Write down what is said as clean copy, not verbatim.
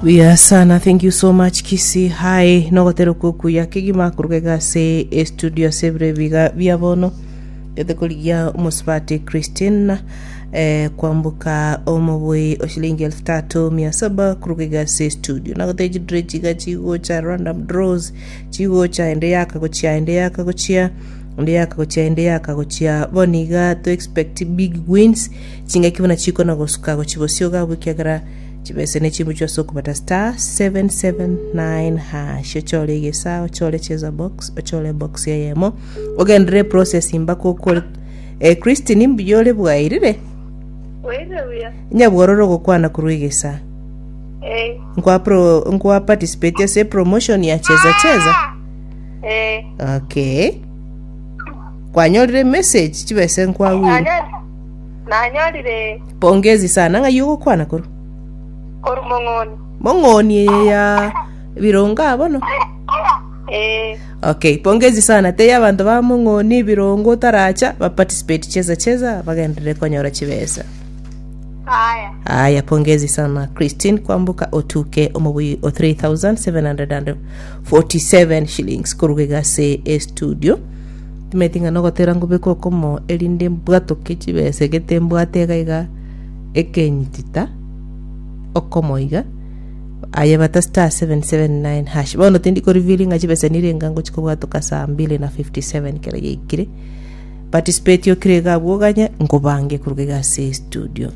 Buya sana thank you so much Kisii High nogotera okwo okuya kegima koruga iga ase estudio ase ebiro ebiga bia bono gete korigia omosubati Christine eh, kwamboka omobui o shilingi elfu tatu mia saba koruga iga ase estudio nagotebia chidure chiga chigocha random draws chigocha ende yaka gochia ende yaka gochia ende yaka gochia ende yaka gochia bono iga to expect big wins chingaki buna chikona gosuka gochia bosio iga abwo ekiagera Chibese ne chimbuchwa ase okobata star 779 hash ochore egesa ochore cheza box ochore box eyemo ogenderere process mpaka okore eh, Christine mbuya ore bwairire Bwairire buya. nyabwororo ogokwana korwa egesa Eh, nkwa pro nkwa participate ase promotion ya cheza cheza eh. okay kwanyorire message chibese nkwagwire Nanyorire. Nanyorire. Pongezi sana ng'ai ogokwana korwa? Korwa Mong'oni. Mong'oni eye ya Birongo aa bono? Ee. Okay, pongezi sana. Tebia abanto ba Mong'oni Birongo otaracha ba participate cheza cheza bagenderere konyora chibesa. Aya. Aya, pongezi sana Christine Kwamboka otuke omobui o 3747 shillings koruga iga ase estudio. Timanyeti ng'a nogotera ngobeke okomo erinde mbwatoke chibesa egete mbwate iga iga ekenyitita okomo iga aye bata star 779 hash bono tindi ko reveal ng'a chibesa nirenga ngochi kobwatoka saa mbili na 57 kero yaikire participate okire iga abwo oganye nkobange koruga iga ase estudio.